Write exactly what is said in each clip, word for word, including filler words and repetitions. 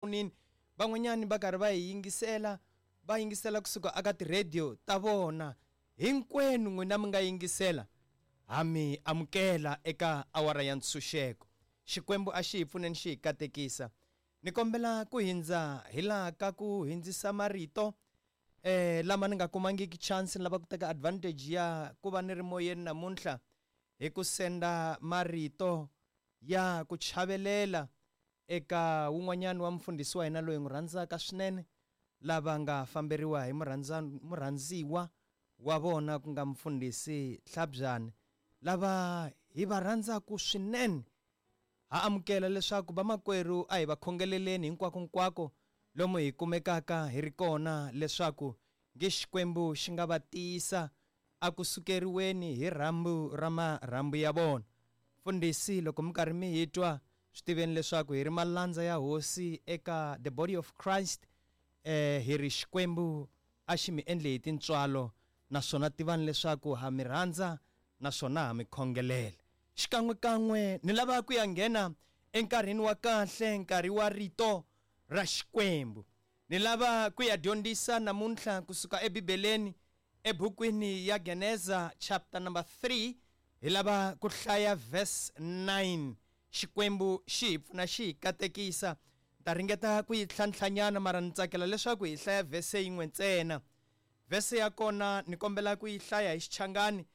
tifonini, van'wanyani va karhi va hi yingisela, va yingisela kusuka aka ti-radio ta vona. Hinkwenu n'wina mi nga yingisela, ha mi amukela eka awara ya ntshunxeko. Xikwembu a xi hi pfuneni xi hi katekisa. Ni kombela ku hindza hi laha ka ku hindzisa marito eh lama ni nga kumangiki chance, ni lava ku teka advantage ya ku va ni ri moyeni namuntlha hi ku senda marito ya ku chavelela eka wun'wanyani wa mufundhisi wa hina loyi n'wi rhandzaka swinene, lava nga famberiwa hi murhandza murhandziwa wa vona ku nga mufundhisi Hlabyani, lava hi va rhandzaka swinene. Ha amukela leswaku vamakwerhu a hi va khongeleleni hinkwako hinkwako lomu hi kumekaka hi ri kona, leswaku nge Xikwembu xi nga va tiyisa a ku sukeriweni hi rhambu ra marhambu ya vona. Mfundhisi, loko mi karhi mi hi twa, swi tiveni leswaku hi ri malandza ya hosi eka the body of Christ. Eh hi ri Xikwembu a xi mi endle hi tintswalo, naswona tivani leswaku ha mi rhandza naswona ha mi khongelela. Xikan'wekan'we ni lava ku ya nghena enkarhini wa kahle, nkarhi wa rito ra Xikwembu. Ni lava ku ya dyondzisa namuntlha kusuka eBibeleni, ebukwini ya Geneza chapter number three, hi lava ku hlaya verse nine. Xikwembu xi hi pfuna xi hi katekisa. Ni ta ringeta ku yi tlhantlhanyana, mara ni tsakela leswaku hi hlaya verse yin'we ntsena. Verse ya kona ni kombela ku yi hlaya hi Xichangani.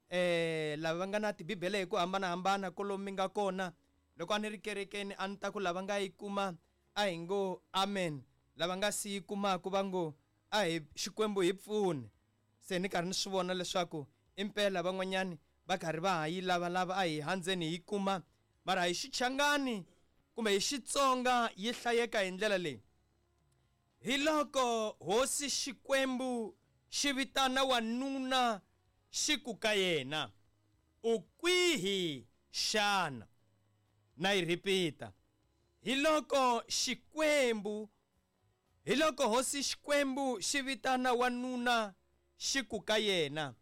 Eh lava va nga na tibibele hi ku hambanahambana kolomu mi nga kona, loko a ni ri kerekeni a ni ta ku lava nga yi kuma a hi ngo amen, lava nga si yi kumaka va ngo a hi Xikwembu hi pfune. Se ni karhi ni swi vona leswaku impela van'wanyani va karhi va ha yi lavalava, a hi handzeni hi yi kuma. Mara hi Xichangani kumbe hi Xitsonga yi hlayeka hi ndlela leyi: hi loko hosi Xikwembu xi vitana wanuna xi ku ka yena, u kwihi xana? Na yi repeat-a. Hi loko Xikwembu, hi loko hosi Xikwembu xi vitana wanuna xi ku ka yena,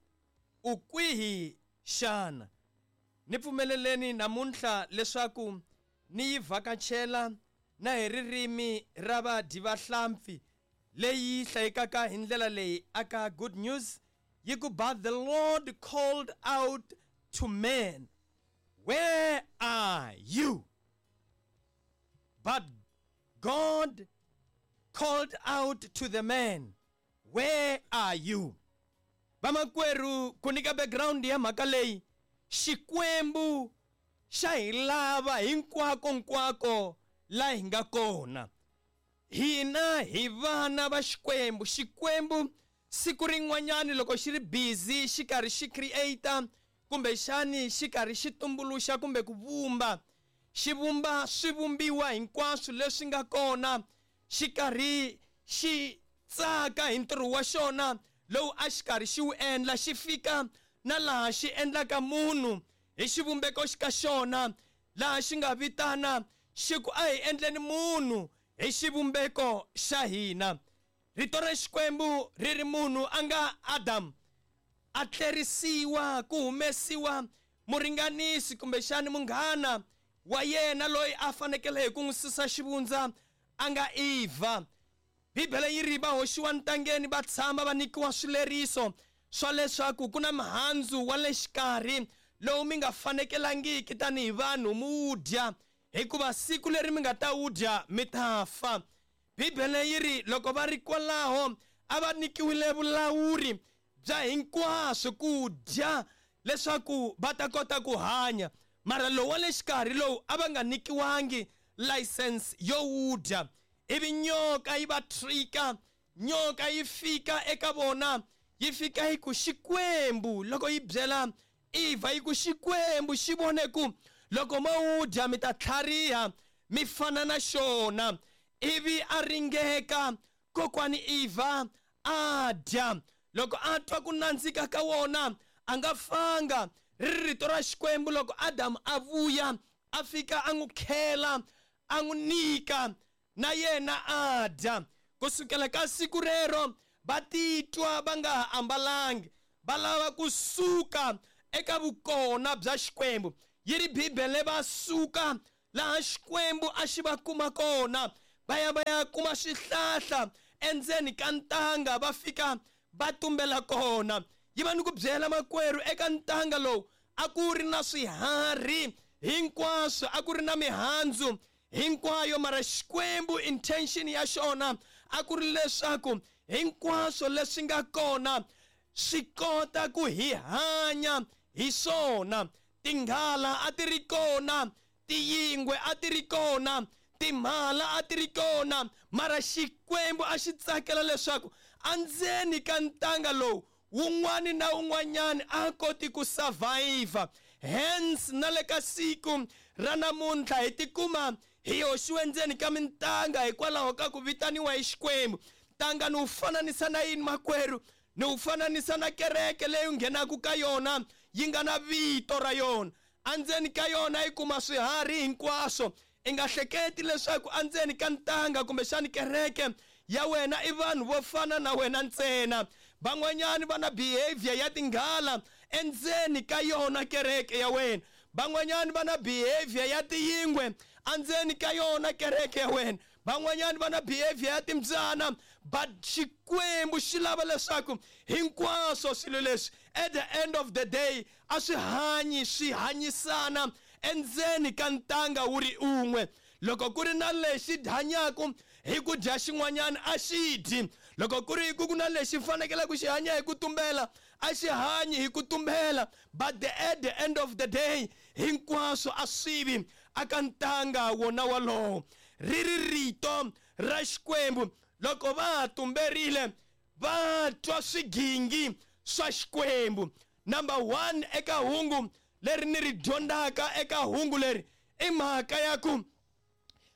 u kwihi xana? Ni pfumeleleni namuntlha leswaku ni yi vhakachela na hi ririmi ra vadyi va hlampfi leyi hlayekaka hi ndlela leyi aka Good News, yi ku, but the Lord called out to man, where are you? But God called out to the man, where are you? Vamakwerhu, ku nyika background ya mhaka leyi, Xikwembu xa hi lava hinkwako nkwako la hi nga kona. Hina hi vana va Xikwembu. Xikwembu siku rin'wanyani loko xi ri busy xi karhi xi create-a kumbexani xi karhi xi tumbuluxa kumbe ku vumba, xi vumba swivumbiwa hinkwaswo leswi nga kona, xi karhi xi tsaka hi ntirho wa xona lowu a xi karhi xi wu endla, xi fika na laha xi endlaka munhu hi xivumbeko ka xona, laha xi nga vitana xi ku a hi endleni munhu hi xivumbeko xa hina. Rito ra Xikwembu ri ri munhu a nga Adam a tlerisiwa ku humesiwa muringanisi kumbexani munghana wa yena loyi a fanekele hi ku n'wi susa xivundza a nga Eva. Bibele yi ri va hoxiwa ntangeni va tshama va nyikiwa swileriso swa leswaku ku na mihandzu wa le xikarhi lowu mi nga fanekelangiki tanihi vanhu mi wu dya, hikuva siku leri mi nga ta wu dya mi ta fa. Bibele yi ri loko va ri kwalaho a va nyikiwile vulawuri bya hinkwaswo ku dya leswaku va ta kota ku hanya, mara lowu wa le xikarhi lowu a va nga nyikiwangi license yo wu dya. Ivi nyoka yi va trika, nyoka yi fika eka vona, yi fika yi ku Xikwembu, loko yi byela Eva yi ku Xikwembu xi vone ku loko mo wu dya mi ta tlhariha mi fana na xona. Ivi a ringeka kokwani Eva a dya, loko a twa ku nandzika ka wona a nga fanga. Ri ri rito ra Xikwembu loko Adamu a vuya a fika a n'wi khela a n'wi nyika na yena a dya. Kusukela ka siku rero va titwa va nga ha ambalangi, va lava kusuka eka vukona bya Xikwembu. Yi ri Bibele va suka laha Xikwembu a xi va kuma kona, Va ya va ya kuma swihlahla endzeni ka ntanga, va fika va tumbela kona. Yi va ni ku byela makwerhu, eka ntanga lowu a ku ri na swiharhi hinkwaswo, a ku ri na mihandzu hinkwayo, mara Xikwembu intention ya xona a ku ri leswaku hinkwaswo leswi nga kona swi kota ku hi hanya hi swona. Tinghala a ti ri kona, tiyingwe a ti ri kona, timhala a ti ri kona, mara Xikwembu a xi tsakela leswaku endzeni ka ntanga lowu wun'wani na wun'wanyani a koti ku survive. Hence na le ka siku ra namuntlha hi tikuma hi hoxiwe ndzeni ka mintanga hikwalaho ka ku vitaniwa hi Xikwembu. Ntanga ni wu fananisa na yini makwerhu? Ni wu fananisa na kereke leyi u nghenaka ka yona yi nga na vito ra yona. Endzeni ka yona yi kuma swiharhi hinkwaswo. I nga hleketi leswaku endzeni ka ntanga kumbexani kereke ya wena i vanhu vo fana na wena ntsena. Van'wanyani va na behavior ya tinghala endzeni ka yona kereke ya wena. Van'wanyani va na behavior ya tiyingwe endzeni ka yona kereke ya wena. Van'wanyani va na behavior ya timbyana. But Xikwembu xi lava leswaku hinkwaswo swilo leswi at the end of the day a swi hanyi swi hanyisana endzeni ka ntanga wu ri un'we. Loko ku ri na lexi hanyaka hi ku dya xin'wanyana a xi dyi. Loko ku ri ku na lexi fanekele ku xi hanya hi ku tumbela a xi hanyi hi ku tumbela. But the, at the end of the day hinkwaswo a swi vi aka ntanga wona walowo. Ri ri rito ra Xikwembu, loko va tumberile va twa swigingi swa Xikwembu. Number one eka hungu leri ni ri dyondzaka eka hungu leri i mhaka ya ku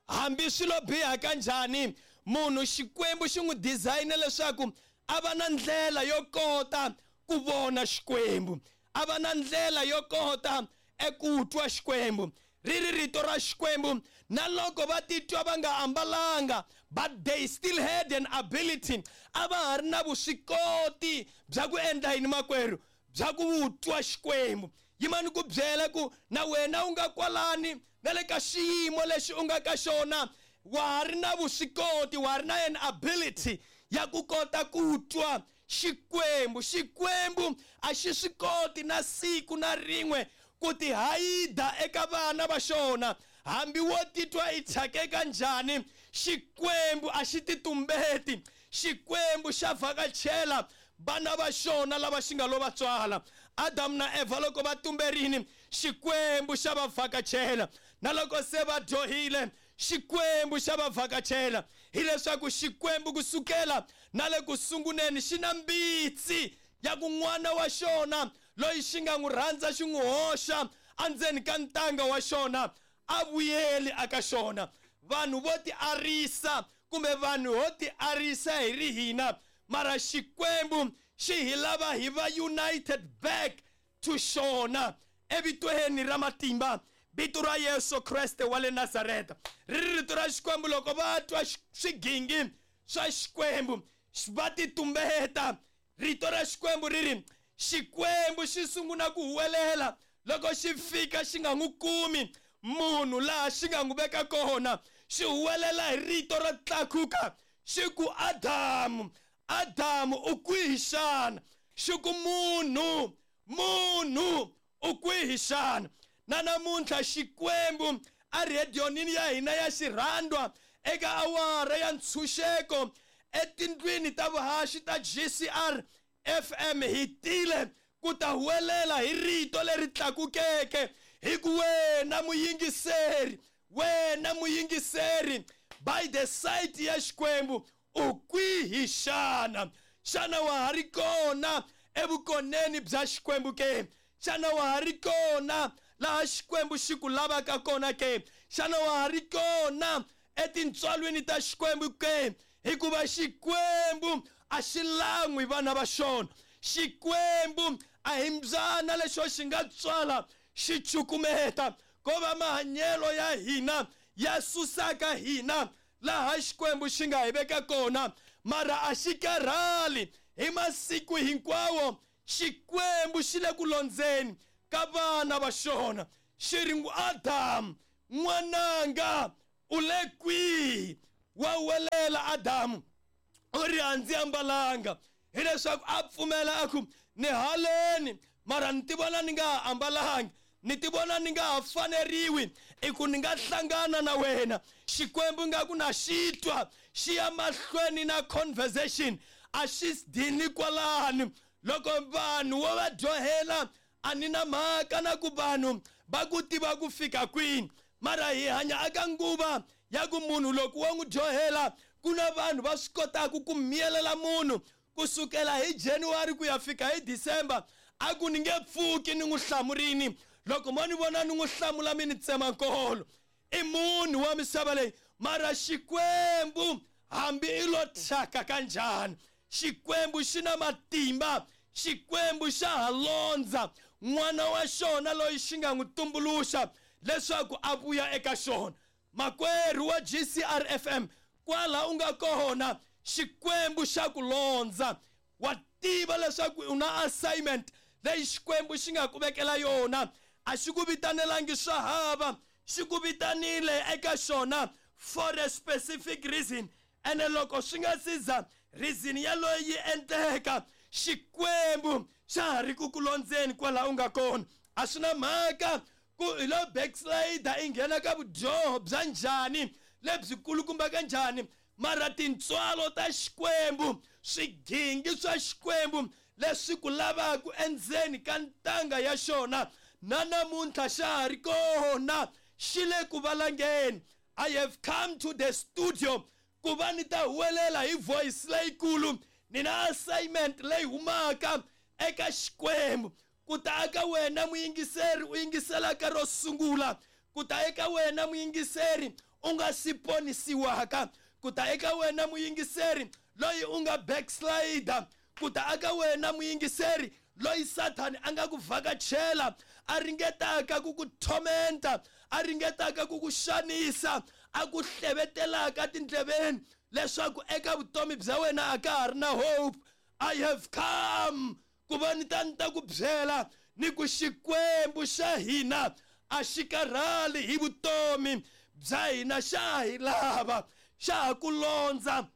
hambi swilo biha kanjhani, munhu Xikwembu xi n'wi design leswaku a va na ndlela yo kota ku vona Xikwembu, a va na ndlela yo kota eku twa Xikwembu. Ri ri rito ra Xikwembu, na loko va titwa va nga ambalanga, but they still had an ability, a va ha ri na vuswikoti bya ku endla yini makwerhu? Bya ku twa Xikwembu. Yimani ku byela ku na wena u nga kwalani na le ka xiyimo lexi u nga ka xona, wa ha ri na vuswikoti, wa ha ri na an ability ya ku kota ku twa Xikwembu. Xikwembu a xi swi koti na siku na rin'we ku ti hayida eka vana va xona. Hambi wo titwa i thyake kanjhani, Xikwembu a xi ti tumbeti. Xikwembu xa vhakachela vana va xona lava xi nga lo va tswala. Adamu na Eva loko va tumberini, Xikwembu xa va vhakachela. Na loko se va dyohile, Xikwembu xa va vhakachela. Hileswaku Xikwembu kusukela na le ku sunguleni xi na mbitsi ya ku n'wana wa xona loyi xi nga n'wi rhandza xi n'wi hoxa endzeni ka ntanga wa xona a vuyeli aka xona. Vanhu vo ti arisa kumbe vanhu ho ti arisa hi ri hina, mara Xikwembu xi hi lava hi va united back to xona evitweni ra matimba, vito ra Yesu Kreste wa le Nazareta. Ri ri rito ra Xikwembu, loko va twa swigingi swa Xikwembu va ti tumbeta. Rito ra Xikwembu ri ri Xikwembu xi sungula ku huwelela loko xi fika xi nga n'wi kumi munhu laha xi nga n'wi veka kona. Xi huwelela hi rito ro tlakuka xi ku, Adamu, Adamu u kwihi xana? Xi ku, munhu, munhu u kwihi xana? Na namuntlha Xikwembu a redionini ya hina ya xirhandwa eka awara ya ntshunxeko etindlwini ta vuhaxi ta G C R F M hi tile ku ta huwelela hi rito leri tlakukeke hi ku, wena muyingiseri, wena muyingiseri, by the side ya Xikwembu u kwihi xana? Xana wa ha ri kona evukoneni bya Xikwembu ke? Xana wa ha ri kona laha Xikwembu xi ku lavaka kona ke? Xana wa ha ri kona etintswalweni ta Xikwembu ke? Hikuva Xikwembu a xi lan'wi vana va xona. Xikwembu a hi mbyana lexo xi nga tswala xi cukumeta, ko va mahanyelo ya hina ya susaka hina laha Xikwembu xi nga hi veka kona. Mara a xi karhali hi masiku hinkwawo. Xikwembu xi le ku londzeni ka vana va xona. Xi ri, Adamu n'wananga u le kwihi? Wa huwelela Adamu u ri a ndzi ambalanga, hileswaku a pfumela a ku ni haleni mara ni tivona ni nga ha ambalangi, ni tivona ni nga ha faneriwi i ku ni nga hlangana na wena. Xikwembu nga ku na xi twa, xi ya mahlweni na conversation, a xi dini kwalani. Loko vanhu wo va dyohela a ni na mhaka na ku vanhu va ku tiva ku fika kwini, mara hi hanya aka nguva ya ku munhu loko wo n'wi dyohela ku na vanhu va swi kotaka ku miyelela munhu kusukela hi January ku ya fika hi December, a ku ni nge pfuki ni n'wi hlamurini. Loko mo ni vona ni n'wi hlamula mi ni tsema nkolo. I munhu wa misava leyi, mara Xikwembu hambi i lo thyaka kanjhani, Xikwembu xi na matimba, Xikwembu xa ha londza n'wana wa xona loyi xi nga n'wi tumbuluxa leswaku a vuya eka xona. Makwerhu wa G C R F M, kwala u nga kona Xikwembu xa ku londza. Wa tiva leswaku u na assignment leyi Xikwembu xi nga ku vekela yona. A xi ku vitanelangi swa hava, xi ku vitanile eka xona for a specific reason. Ene loko swi nga siza reason yaloyi yi endleka, Xikwembu xa ha ri ku ku londzeni kwala u nga kona. A swi na mhaka ku hi lo backslider i nghena ka vudyoho bya njhani lebyi kulukumba ka njhani, mara tintswalo ta Xikwembu, swigingi swa Xikwembu leswi ku lavaka endzeni ka ntanga ya xona na namuntlha xa ha ri kona, xi le ku valangeni. I have come to the studio ku va ni ta huwelela hi voice leyikulu, ni na assignment leyi humaka eka Xikwembu. Ku ta eka wena muyingiseri u yingiselaka ro sungula, ku ta eka wena muyingiseri u nga si ponisiwaka, ku ta eka wena muyingiseri loyi u nga backslider, ku ta eka wena muyingiseri loyi Sathani a nga ku vhakachela, a ringetaka ku ku tormenta, a ringetaka ku ku xanisa, a ku hlevetelaka tindleveni leswaku eka vutomi bya wena a ka ha ri na hope. I have come ku va ni ta ni ta ku byela ni ku Xikwembu xa hina a xi karhali hi vutomi bya hina, xa hi lava, xa ha ku londza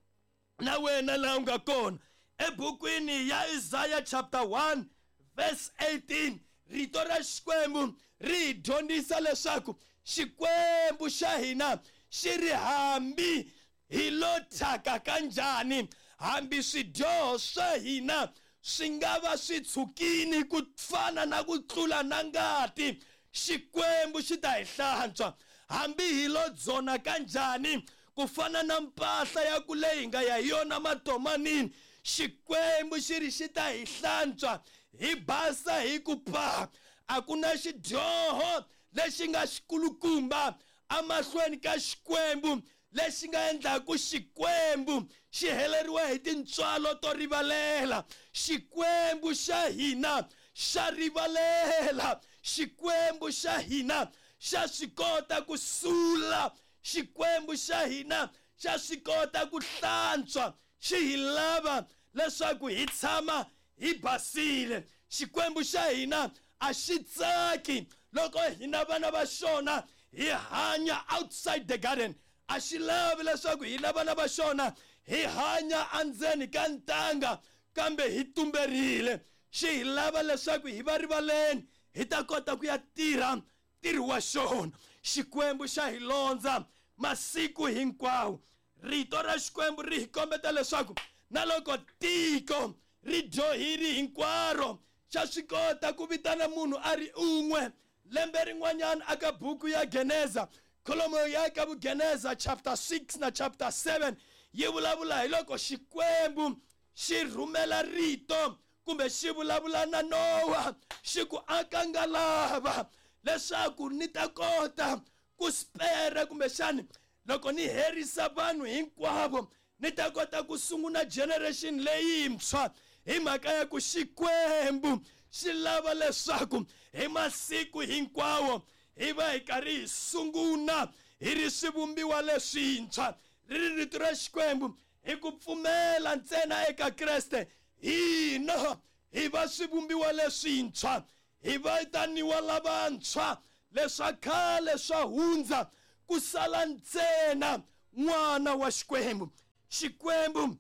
na wena laha u nga kona. Ebukwini ya Isaiah chapter one verse eighteen, rito ra Xikwembu ri hi dyondzisa leswaku Xikwembu xa hina xi ri hambi hi lo thyaka kanjhani, hambi swidyoho swa hina swi nga va swi tshukini ku fana na ku tlula na ngati, Xikwembu xi ta hi hlantswa. Hambi hi lo dzona kanjhani ku fana na mpahla ya ku leyi hi nga ya hi yona matomanini, Xikwembu xi ri xi ta hi hlantswa hi basa hi ku pa. A ku na xidyoho lexi nga xikulukumba amahlweni ka Xikwembu lexi nga endlaku Xikwembu xi heleriwa hi tintswalo to rivalela. Xikwembu xa hina xa rivalela, Xikwembu xa hina xa swi kota ku sula, Xikwembu xa hina xa swi kota ku hlantswa. Xi hi lava leswaku hi tshama hi basile. Xikwembu xa hina a xi tsaki loko hina vana va xona hi hanya outside the garden. A xi lavi leswaku hina vana va xona hi hanya endzeni ka ntanga kambe hi tumberile. Xi hi lava leswaku hi va rivaleni hi ta kota ku ya tirha ntirho wa xona. Xikwembu xa hi londza masiku hinkwawo. Rito ra Xikwembu ri hi kombeta leswaku na loko tiko ri dyohile hinkwaro, xa swi kota ku vitana munhu a ri un'we. Lembe rin'wanyana aka buku ya Geneza, kholomo ya ka Vugeneza chapter six na chapter seven yi vulavula hi loko Xikwembu xi rhumela rito kumbe xi vulavula na Nowa, xi ku aka ngalava leswaku ni ta kota ku spare kumbexani loko ni herisa vanhu hinkwavo ni ta kota ku sungula generation leyintshwa. Hi mhaka ya ku Xikwembu xi lava leswaku hi masiku hinkwawo hi va hi karhi hi sungula hi ri swivumbiwa leswintshwa. Ri ri rito ra Xikwembu hi ku pfumela ntsena eka Kreste hina hi va swivumbiwa leswintshwa, hi vitaniwa lavantshwa, leswa khale swa hundza ku sala ntsena n'wana wa Xikwembu. Xikwembu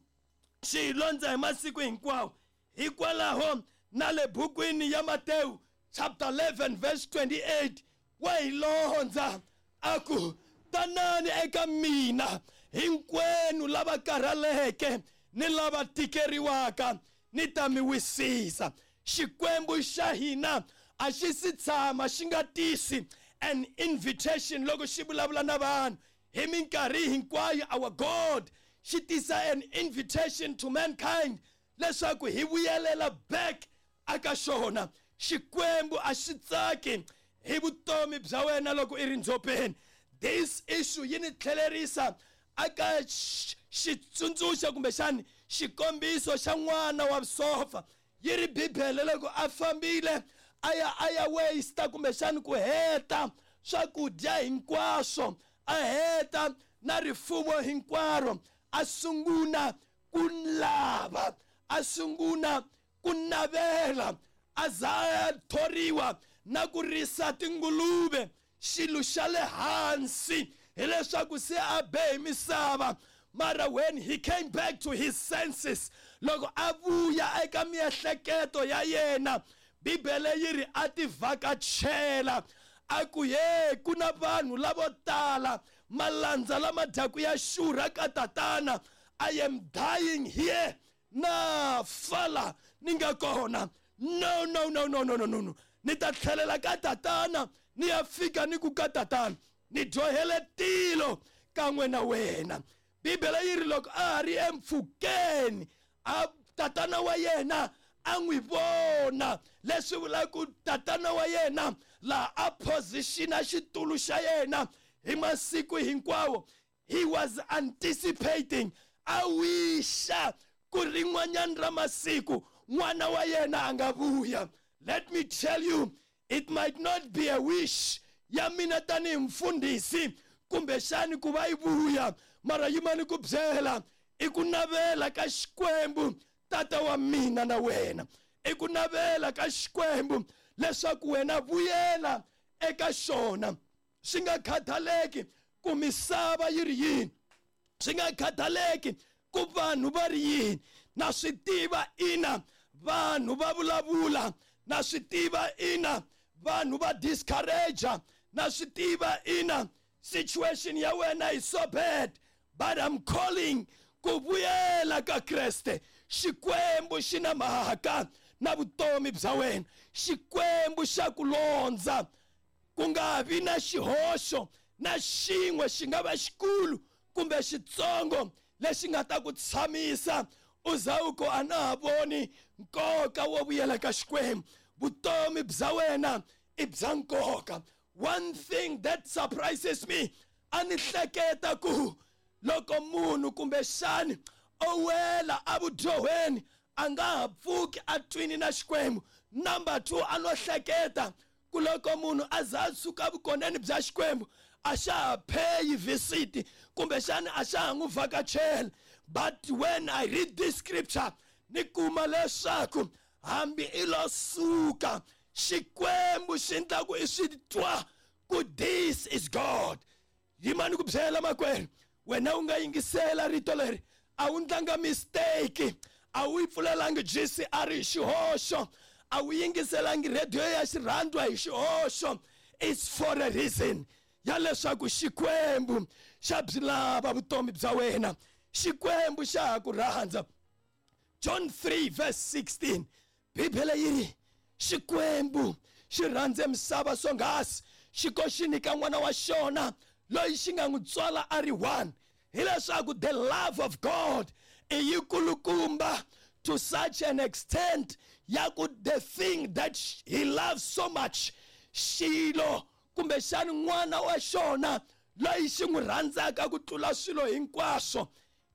xi hi londza hi masiku hinkwawo. Hikwalaho na le bukwini ya Matewu chapter eleven verse twenty-eight wa hi londza a ku, tanani eka mina hinkwenu lava karhaleke ni lava tikeriwaka, ni ta mi wisisa. Xikwembu xa hina a xi si tshama xi nga tisi an invitation loko xi vulavula na vanhu. Hi minkarhi hinkwayo our God xi tisa an invitation to mankind leswaku hi vuyelela back aka xona. Xikwembu a xi tsaki hi vutomi bya wena loko i ri ndzhopeni. This issue yi ni tlhelerisa aka xitsundzuxo kumbexani xikombiso xa n'wana wa vusofa. Yi ri Bibele loko a fambile a ya a ya waste kumbexani ku heta swakudya hinkwaswo, a heta na rifumo hinkwaro, a sungula ku lava, a sungula ku navela, a za a thoriwa na ku risa tinguluve. Xilo xa le hansi hileswaku se a be hi misava. Mara when he came back to his senses, loko a vuya eka miehleketo ya yena, Bibele yi ri a ti vhakachela a ku, ye ku na vanhu lavo tala, malandza lama dyaku ya xurha ka tatana, I am dying here, na fala ni nga kona. No, no, no, no, no, no, no. Ni ta tlhelela ka tatana, ni ya fika ni ku ka tatana, ni dyohele tilo kan'we na wena. Bibele yi ri loko a ha ri empfhukeni, a tatana wa yena a n'wi vona. Leswi vulaka ku tatana wa yena laha a positiona xitulu xa yena hi masiku hinkwawo, he was anticipating, a wisha ku rin'wanyana ra masiku n'wana wa yena a nga vuya. Let me tell you, it might not be a wish ya mina tanihi mfundhisi kumbexani ku va yi vuya, mara yimani ku byela i ku navela ka Xikwembu tata wa mina na wena, i ku navela ka Xikwembu leswaku wena vuyela eka xona. Swi nga khathaleki ku misava yi ri yini, swi nga khathaleki ku vanhu va ri yini. Na swi tiva ina vanhu va vulavula, na swi tiva ina vanhu va discourage, na swi tiva ina situation ya wena is so bad, but I'm calling ku vuyela ka Kreste. Xikwembu xi na mhaka na vutomi bya wena. Xikwembu xa ku londza, ku nga vi na xihoxo na xin'we xi nga va xikulu kumbe xitsongo lexi nga ta ku tshamisa u za u ku a na ha voni nkoka wo vuyela ka Xikwembu. Vutomi bya wena i bya nkoka. One thing that surprises me, a ni hleketa ku loko munhu kumbexani o wela evudyohweni a nga ha pfuki a twini na Xikwembu. Number two, a no hleketa ku loko munhu a za a suka vukoneni bya Xikwembu a xa ha pay visit kumbexani a xa ha n'wi vhakachela. But when I read this scripture, ni kuma leswaku hambi i lo suka, Xikwembu xi endla ku i swi twa ku this is God. Yimani ku byela makwerhu, wena u nga yingisela rito leri, a wu ndlanga mistake, a wu yi pfulelangi G C R hi xihoxo, a wu yingiselangi radio ya xirhandwa hi xihoxo. It's for a reason ya leswaku Xikwembu xa byi lava vutomi bya wena. Xikwembu xa ha ku rhandza. John three verse sixteen, Bibele yi ri Xikwembu xi rhandze misava swonghasi xi ko xi nyika n'wana wa xona loyi xi nga n'wi tswala a ri one. Hileswaku the love of God i yikulukumba to such an extent ya ku the thing that he loves so much, xilo kumbexani n'wana wa xona loyi xi n'wi rhandzaka ku tlula swilo hinkwaswo,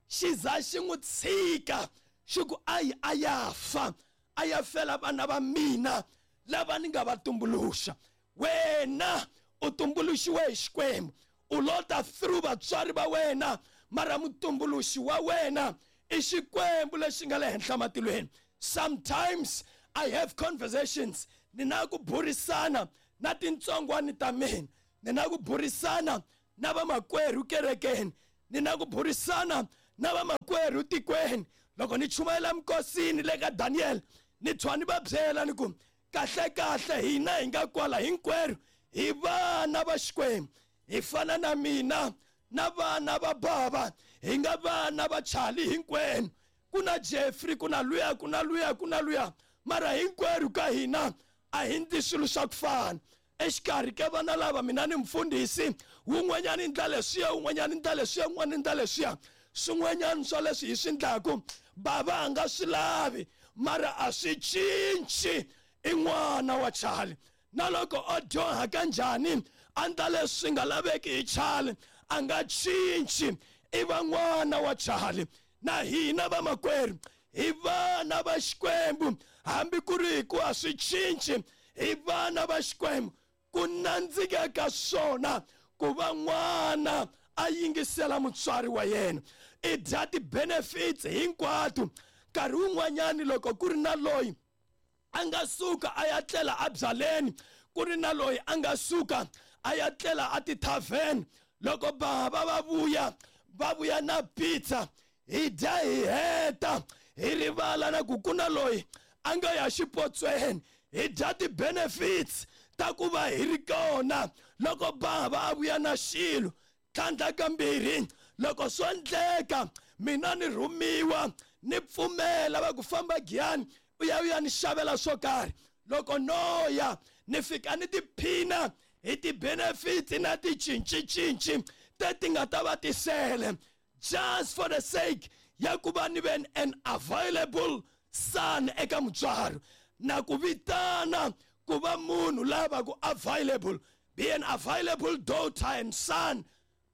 xi za xi n'wi tshika xi ku ayi a ya fa, a ya fela vana va mina lava ni nga va tumbuluxa. Wena u tumbuluxiwe hi Xikwembu, u lota through vatswari va wena, mara mutumbuluxi wa wena i Xikwembu lexi nga le henhla matilweni. Sometimes I have conversations, ni na ku burisana na tintsongwani ta mina, ni na ku burisana na vamakwerhu kerekeni. Ni na ku burisana na vamakwerhu tikweni. Loko ni chumayela minkosini le ka Daniel, ni tshwa ni va byela ni ku kahle kahle hina hi nga kwala hinkwerhu hi vana va Xikwembu. Hi fana na mina na vana va bava, hi nga vana va Charlie hinkwenu. Ku na Jeffrey, ku na luya, ku na luya, ku na luya, mara hinkwerhu ka hina a hi ndli swilo swa ku fana. Exikarhi ka vana lava mina ni mfundhisi, wun'wanyana ndla leswiya, wun'wanyana ndla leswiya, wun'wana ndla leswiya. Swin'wanyana swa leswi hi swi ndlaku bava a nga swi lavi, mara a swi cinci i n'wana wa Charlie. Na loko o dyoha kanjhani, a ndla leswi nga laveki hi Charlie, a nga cinci, i va n'wana wa Charlie. Na hina vamakwerhu hi vana va Xikwembu, hambi ku ri hi ku a swi cinci, hi vana va Xikwembu. Ku nandzika ka swona ku va n'wana a yingisela mutswari wa yena, i dya ti-benefits hinkwato. Nkarhi wun'wanyani loko ku ri na loyi a nga suka a ya tlela a byaleni, ku ri na loyi a nga suka a ya tlela a ti-tavern, loko bava va vuya va vuya na pizza, hi dya hi heta, hi rivala na ku ku na loyi a nga ya xipotsweni. Hi dya ti-benefits ta ku va hi ri kona loko bava a vuya na xilo. Tlhandla kambirhi, loko swo endleka mina ni rhumiwa ni pfumela va ku famba Giyani u ya u ya ni xavela swo karhi, loko no ya ni fika ni tiphina hi ti-benefits na ti-cincicinci teti nga ta va tisele, just for the sake ya ku va ni ve an available son eka mutswari. Na ku vitana ku va munhu lava ku available, be an available daughter and son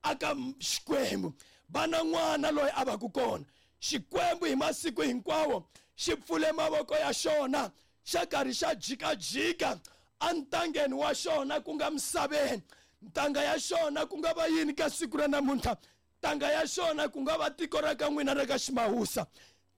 aka Xikwembu. Vana n'wana loyi a va ku kona, Xikwembu hi masiku hinkwawo xi pfule mavoko ya xona, xa karhi xa jikajika entangeni wa xona ku nga misaveni. Ntanga ya xona ku nga va yini ka siku ra namuntlha? Ntanga ya xona ku nga va tiko ra ka n'wina ra ka Ximawusa.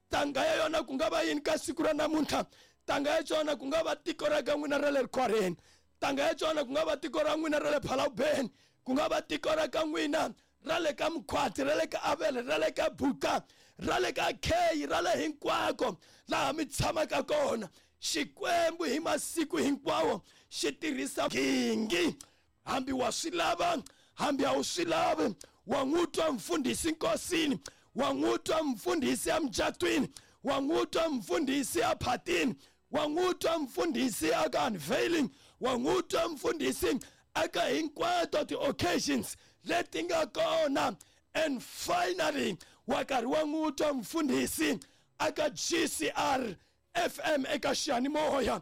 Ntanga ya yona ku nga va yini ka siku ra namuntlha? Ntanga ya xona ku nga va tiko ra ka n'wina ra le Rikhwareni. Ntanga ya xona ku nga va tiko ra n'wina ra le Phalawubeni, ku nga va tiko ra ka n'wina ra le ka Mkhwati, ra le ka Avele, ra le ka Buka, ra le ka Kei, ra le hinkwako laha mi tshamaka kona. Xikwembu hi masiku hinkwawo xi tirhisa gingi. Hambi wa swi lava, hambi a wu swi lavi, wa n'wi twa mfundhisi nkosini, wa n'wi twa mfundhisi emucatwini, wa n'wi twa mfundhisi ephatini, wa n'wi twa mfundhisi aka unveiling, wa n'wi twa mfundhisi aka hinkwato ti-occasions leti nga kona. And finally wa karhi wa n'wi twa mfundhisi aka G C R F M eka xiyanimoya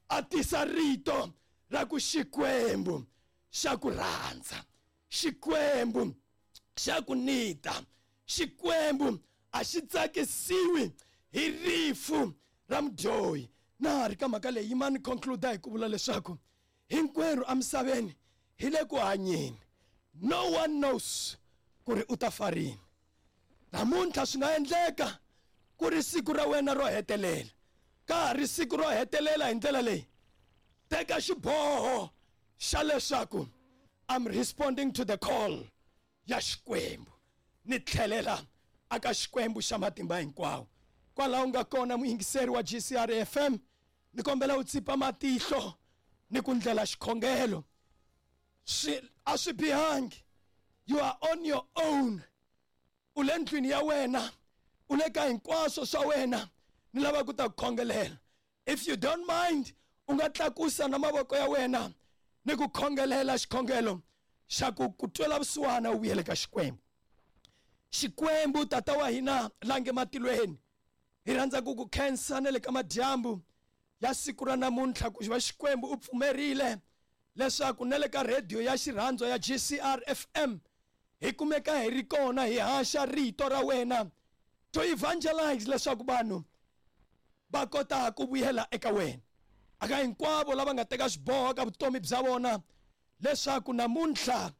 a tisa rito ra ku Xikwembu xa ku rhandza, Xikwembu xa ku nita, Xikwembu a xi tsakisiwi hi rifu ra mudyohi. Na ri ka mhaka leyi yima ni conclude hi ku vula leswaku hinkwerhu emisaveni hi le ku hanyeni. No one knows ku ri u ta fa rini. Namuntlha swi nga endleka ku ri siku ra wena ro hetelela. Ka ha ri siku ro hetelela hi ndlela leyi, teka xiboho xa leswaku I'm responding to the call ya Xikwembu, ni tlhelela aka Xikwembu xa matimba hinkwawo. Kwalaho nga kona muyingiseri wa G C R F M, ni kombela u tsipa matihlo ni ku ndlela xikhongelo. Swi a swi bihangi, you are on your own. U le ndlwini ya wena, u le ka hinkwaswo swa wena, ni lava ku ta ku khongelela. If you don't mind, u nga tlakusa na mavoko ya wena ni ku khongelela xikhongelo xa ku ku twela vusiwana u vuyele ka Xikwembu. Xikwembu tata wa hina la nge matilweni, hi rhandza ku ku khensa na le ka madyambu ya siku ra namuntlha ku va Xikwembu u pfumerile leswaku na le ka radio ya xirhandzo ya G C R F M hi kumeka hi ri kona hi haxa rito ra wena to evangelize leswaku vanhu va kota ku vuyela eka wena. Aka hinkwavo lava nga teka xiboho ka vutomi bya vona leswaku namuntlha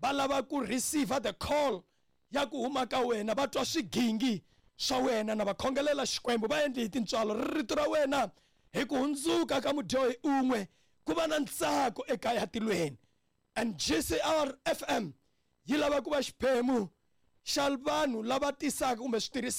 va lava ku receive the call ya ku huma ka wena, va twa swigingi swa wena na va khongelela Xikwembu, va endli hi tintswalo rito ra wena hi ku hundzuka ka mudyohi un'we ku va na ntsako ekaya tilweni. And G C R F M yi lava ku va xiphemu xa vanhu lava tisaka kumbe switirhisiwa.